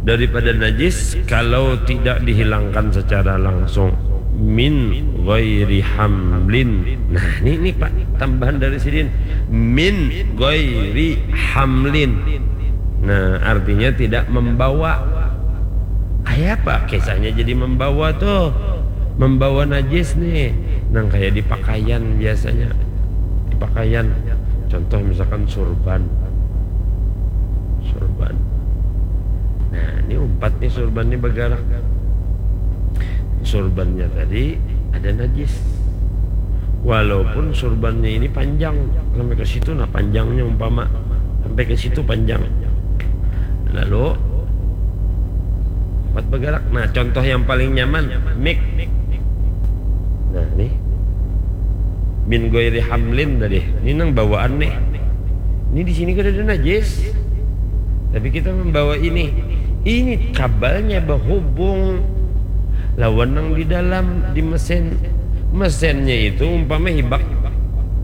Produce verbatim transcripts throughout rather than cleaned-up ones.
daripada najis kalau tidak dihilangkan secara langsung. Min ghairi hamlin. Nah, ini, ini Pak, tambahan dari sidin. Min ghairi hamlin. Nah, artinya tidak membawa. Kayak apa kisahnya jadi membawa tuh? Membawa najis nih. Nang kayak di pakaian biasanya. Di pakaian. Contoh misalkan surban. Surban. Nah, ini umpat nih surban nih bergerak. Surbannya tadi ada najis. Walaupun surbannya ini panjang sampai ke situ, nah panjangnya umpama sampai ke situ panjang. Lalu umpat bergerak. Nah, contoh yang paling nyaman, mik. Nah, nih. Min ghairi hamlin tadi. Ini nang bawaan nih. Ini di sini kada ada najis. Tapi kita membawa ini. Ini kabalnya bahubung lawan nang di dalam di mesin. Mesinnya itu umpama hibak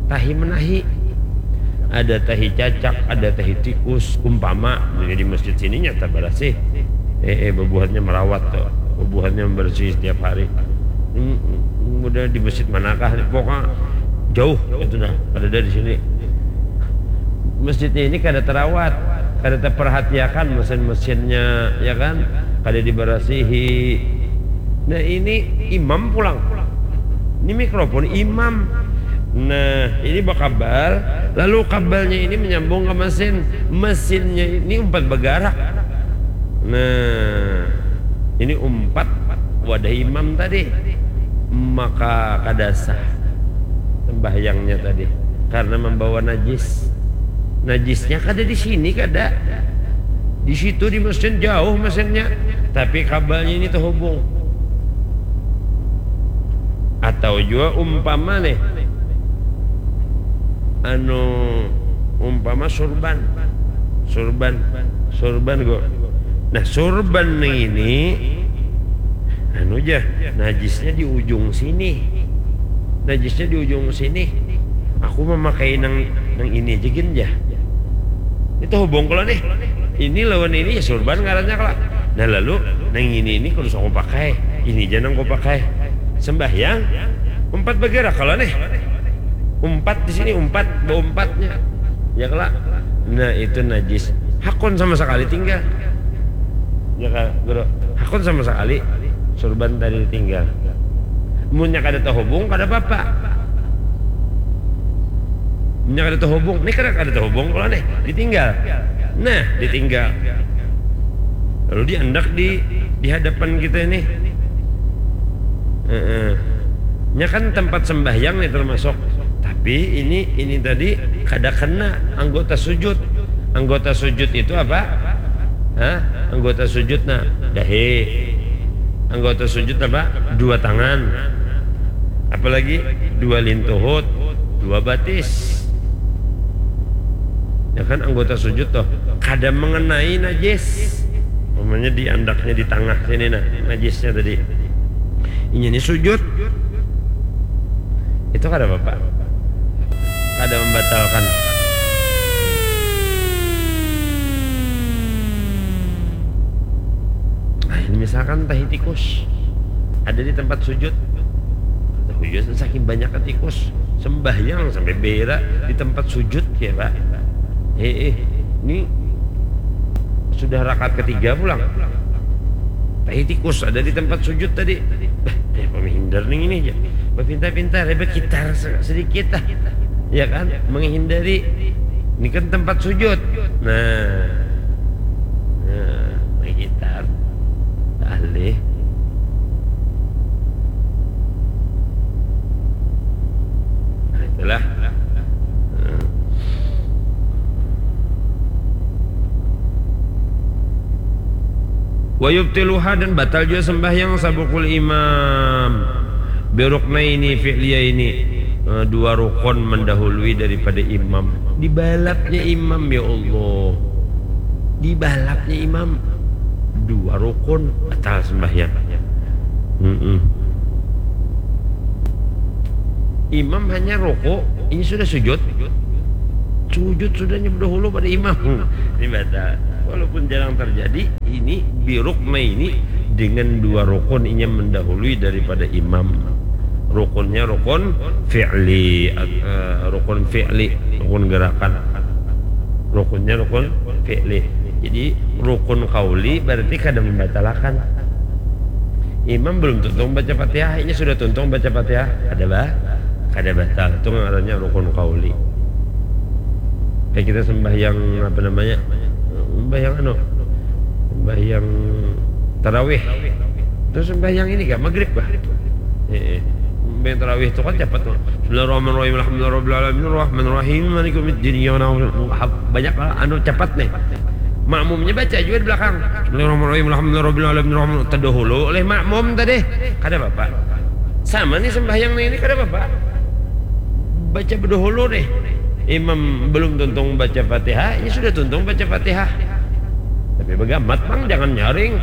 tahi menahi. Ada tahi cacak, ada tahi tikus, umpama. Jadi di masjid sini nyata barasih. Eh, eh, bebuhannya merawat tuh. Bebuhannya membersih setiap hari. Hmm, hmm, udah di masjid manakah nih? Pokoknya jauh itu dah. Ada di sini. Masjidnya ini kada terawat, kada terperhatiakan mesin-mesinnya, ya kan? Kada dibersihi. Nah, ini imam pulang. Ini mikrofon imam. Nah, ini bakabal, lalu kabalnya ini menyambung ke mesin. Mesinnya ini umpat bergerak. Nah, ini umpat wadah imam tadi. Maka kada sah sembahyangnya tadi karena membawa najis. Najisnya kada di sini, kada. Di situ di mesin, jauh mesinnya. Tapi kabalnya ini terhubung. Atau jua umpama nih, anu, umpama surban. Surban. Surban kok. Nah, surban nih ini, anu ja, najisnya di ujung sini. Najisnya di ujung sini. Aku memakai nang, nang ini aja gin ja. Itu hubung kalau nih. Ini lawan ini ya surban ngarannya kalau. Nah, lalu nang ini, ini kudu aku pakai. Ini aja nang aku pakai. Sembahyang, umpat bergerak kalau nih. Umpat di sini, umpat, beumpatnya. Ya kala. Nah, itu najis. Hakun sama sekali tinggal. Ya kala, Guru. Hakun sama sekali surban tadi tinggal. Munnya kada terhubung, kada apa-apa. Munnya kada terhubung, nih kada, kada terhubung kalau nih, ditinggal. Nah, ditinggal. Lalu diandak di, di hadapan kita ini. Heeh. Nya kan tempat sembahyang nih termasuk. Tapi ini, ini tadi kada kena anggota sujud. Anggota sujud itu apa? Hah? Anggota sujud, nah, dahi. Anggota sujud apa? Dua tangan. Apalagi dua lintuhut, dua batis. Ya kan, anggota sujud tuh kada mengenai najis. Umpamanya di andaknya di tengah sini, nah, najisnya tadi. Inya ini sujud. Itu kada apa-apa. Kada membatalkan. Nah, ini misalkan tahi tikus ada di tempat sujud. Tahu juga saking banyaknya tikus, sembahyang sampai berak di tempat sujud ya, Pak. Eh, eh, ini sudah rakaat ketiga pulang. Tahi tikus ada di tempat sujud tadi. Bah, ya, pemihindar nih ini aja. Berpintar-pintar, ya, berkitar se-, sedikit lah. Ya kan? Menghindari. Ini kan tempat sujud. Nah. Nah, berkitar. Alih. Nah, itulah. Nah. Wa yubtiluha, dan batal jua sembahyang sabukul imam. Biruknaini fi'liyaini. Eh, dua rukun mendahului daripada imam. Dibalapnya imam, ya Allah. Dibalapnya imam. Dua rukun batal sembahyang. Mm-mm. Imam hanya rukuk, ini sudah sujud. Sujud sudahnya dahulu pada imam. Ini batal. Walaupun jarang terjadi, ini birukna ini dengan dua rukun inya mendahului daripada imam. Rukunnya rukun fi'li, eh, rukun fi'li, rukun gerakan. Rukunnya rukun fi'li. Jadi rukun qauli berarti kada membatalakan. Imam belum tuntung baca Fatihah, inya sudah tuntung baca Fatihah, kada bah, kada batal. Itu ngarannya rukun qauli. Kayak kita sembahyang apa namanya? Sembahyang anu, sembahyang tarawih. Terus sembahyang ini kah? Maghrib kah? Eh, eh. Sembahyang tarawih itu kan cepat tuh. Bismillahirrahmanirrahim. Alhamdulillahirabbil alamin. Arrahmanirrahim. Maliki yaumiddin. Iyyaka na'budu. Banyak lah anu cepat nih. Makmumnya baca juga di belakang. Bismillahirrahmanirrahim. Alhamdulillahirabbil alamin. Arrahman. Terdahulu oleh makmum tadi. Kada apa-apa. Sama nih sembahyang nih, ini kada apa-apa. Baca berdahulu nih. Imam belum tuntung baca Fatihah, ini sudah tuntung baca Fatihah. Tapi begamat, Bang, jangan nyaring.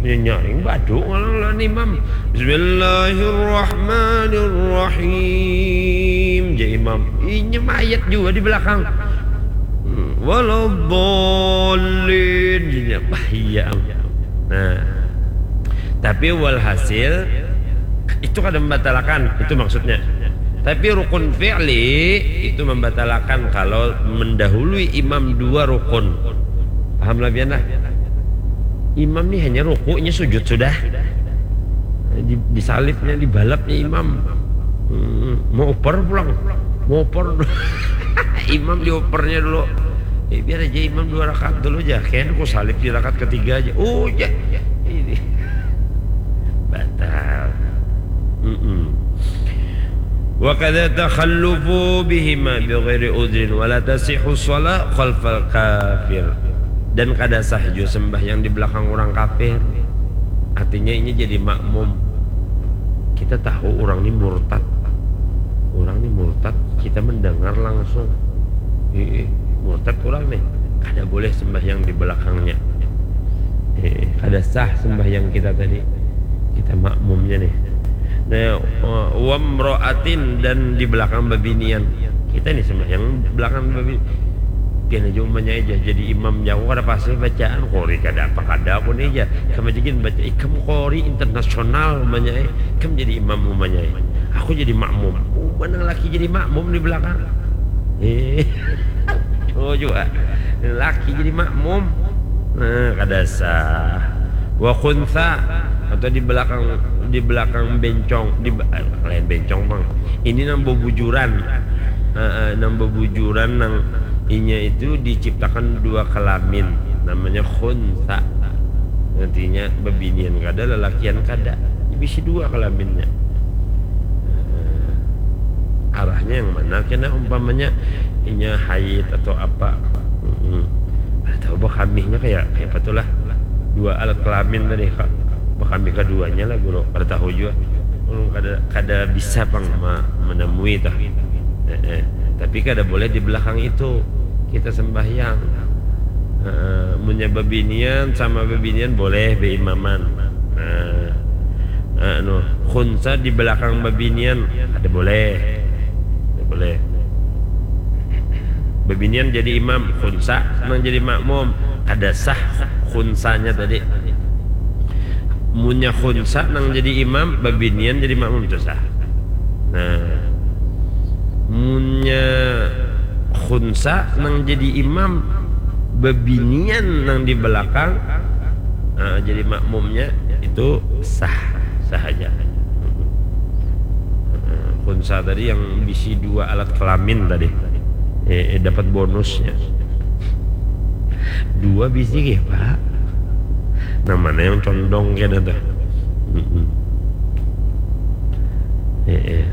Ini nyaring badu ngalang lawan imam. Bismillahirrahmanirrahim. Ja imam. Inya mayat juga di belakang. Hmm, waladdallin. Inya, bah, iya. Nah, tapi walhasil itu kada membatalakan, itu maksudnya. Tapi rukun fi'li itu membatalakan kalau mendahului imam dua rukun. Paham lah pian lah. Imam nih hanya rukunya, sujud sudah. Di, disalibnya, dibalapnya imam. Hmm, mau oper pulang, mau oper. Imam diopernya dulu. Eh, biar aja imam dua rakaat dulu aja. Kayaknya aku salib di rakaat ketiga aja. Oh, ya. Ini. Batal. Mm-mm. Wa kadza takhallufu bihima bi ghairi udhrin wa la tasihhu shalah khalfal kafir. Dan kada sah jua sembahyang di belakang orang kafir. Artinya ini jadi makmum. Kita tahu orang ini murtad. Orang ini murtad, kita mendengar langsung. Ih, murtad orang nih. Kada boleh sembahyang di belakangnya. Eh, kada sah sembahyang kita tadi. Kita makmumnya nih. Nah, wamro'atin, dan di belakang babinian. Kita nih sembahyang belakang babinian. Pian aja umpamanya aja jadi imam, jauh kada pasti bacaan, qori kada apa kada aku nih aja. Sama aja gin baca, ikam qori internasional umpamanya, eh. Ikam jadi imam umpamanya, eh. Aku jadi makmum. Umpama nang laki jadi makmum di belakang. Eh. Oh juga. Laki jadi makmum. Nah, kada sah. Wa khunsa, atau di belakang, di belakang bencong, di ba-, eh, lain bencong, Bang. Ini nang bebujuran. Eh, eh, nang bebujuran nang inya itu diciptakan dua kelamin. Namanya khunsa. Artinya bebinian kada, lelakian kada. Bisi dua kelaminnya. Eh, arahnya yang mana kena umpamanya inya haid atau apa? Mm-mm. Kada tahu bekamihnya kayak, kayak apa tuh lah. Dua alat kelamin tadi, Kak. Bekamih keduanya lah, Guru. Kada tahu juga. Ulun kada, kada bisa pang ma-, menemui tah. Eh, eh. Tapi kada boleh di belakang itu kita sembahyang. Eh, munnya bebinian sama bebinian boleh beimaman. Nah, anu, khunsa di belakang babinian kada boleh. Kada boleh. Babinian jadi imam, khunsa nang jadi makmum. Kada sah khunsanya tadi. Munnya khunsa nang jadi imam, babinian jadi makmum, itu sah. Nah, munnya khunsa nang jadi imam, babinian nang di belakang, ah, jadi makmumnya, itu sah, sah aja. Ah, khunsa tadi yang bisi dua alat kelamin tadi, eh, eh, dapat bonusnya. Dua bisi kah, Pak? Nang mana yang condong kena tuh? Mm-mm. Eh, eh.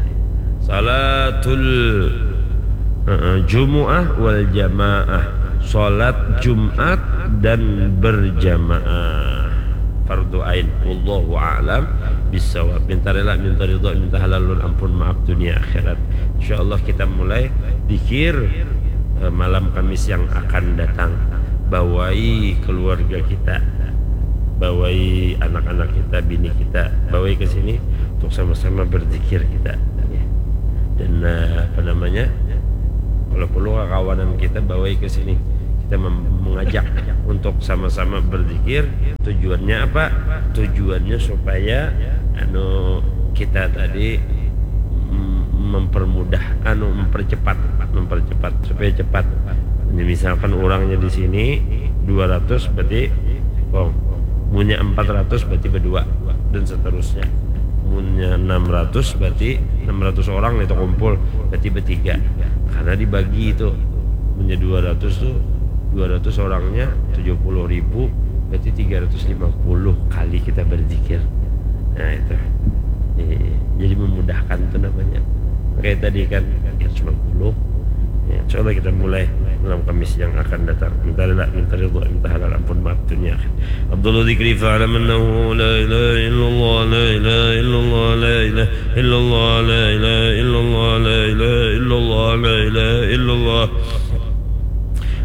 Salatul, eh, eh, Jumu'ah wal jamaah. Salat Jumat dan berjamaah. Fardu ain. Wallahu a'lam bissawab. Minta rela, minta ridha, minta halalun ampun, maaf dunia akhirat. Insyaallah kita mulai dikir, eh, malam Kamis yang akan datang. Bawai keluarga kita, bawai anak-anak kita, bini kita, bawai ke sini untuk sama-sama berzikir kita. Dan, eh, apa namanya, kalau perlu kakawanan kita bawai ke sini, Kita mem- mengajak untuk sama-sama berzikir. Tujuannya apa? Tujuannya supaya anu kita tadi mm, mempermudah, anu, mempercepat, mempercepat supaya cepat. Jadi misalkan orangnya di sini dua ratus, berarti, oh, munnya empat ratus berarti berdua, dan seterusnya. Munnya enam ratus berarti enam ratus orang itu kumpul, berarti bertiga. Karena dibagi itu. Munnya dua ratus tuh, dua ratus orangnya tujuh puluh ribu, berarti tiga ratus lima puluh kali kita berzikir. Nah, itu. Iya, iya. Jadi memudahkan tuh namanya. Kayak tadi kan, ya, sembilan puluh. Ya, insya Allah kita mulai malam Kamis yang akan datang. Minta rela, minta ridho, minta halal, ampun, maaf dunia akhirat. Afdalu dzikri fa'lam annahu la ilaha illallah, la ilaha illallah, la ilaha illallah, la ilaha illallah, la ilaha illallah, la ilaha illallah.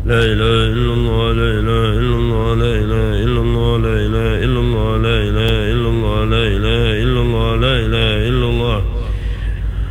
La ilaha illallah, la ilaha illallah, la ilaha illallah, la ilaha illallah, la ilaha illallah, la ilaha illallah, la ilaha illallah.